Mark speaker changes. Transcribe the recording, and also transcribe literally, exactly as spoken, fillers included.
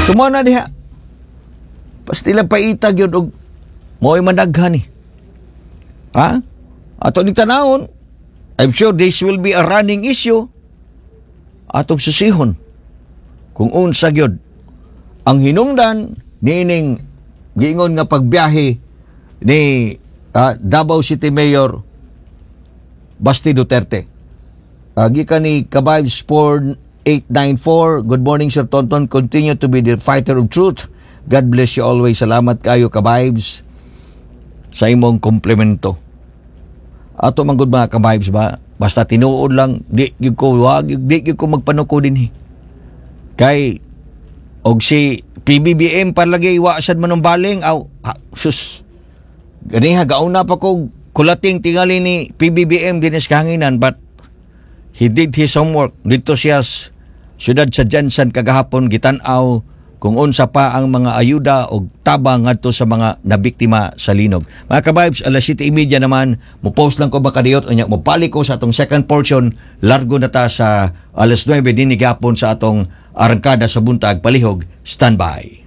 Speaker 1: Tumo na diha. Pastila paitag yun og mo'y managhan eh. Ha? Ato ni tanawon, I'm sure this will be a running issue. Atong susihon kung unsa gyud ang hinungdan niining giingon nga pagbiyahe ni ah, Davao City Mayor Basti Duterte. Uh, gikan ni Kabayb Sport eight nine four. Good morning, Sir Tonton. Continue to be the fighter of truth. God bless you always. Salamat kayo, Kabibes, sa imong komplemento. Ato man gud, mga kabibes ba, basta tinuod lang, di gyud ko wag di gyud ko magpanuko dinhi. Kay og si P B B M palagi wa sad manumbaling aw ha, sus. Ganiha gauna pa ko kulating tingali ni P B B M dinhi sa kahanginan, but he did his homework dito siya sa syudad sa GenSan kagahapon, gitan-aw kung unsa pa ang mga ayuda o tabang ngadto sa mga nabiktima sa linog. Mga kabibes, alas siyete treinta naman, mo post lang ko makadiyot, unya mo balik ko sa atong second portion, largo na ta sa alas nuwebe din gapon sa atong arangkada sa buntag. Palihog, standby.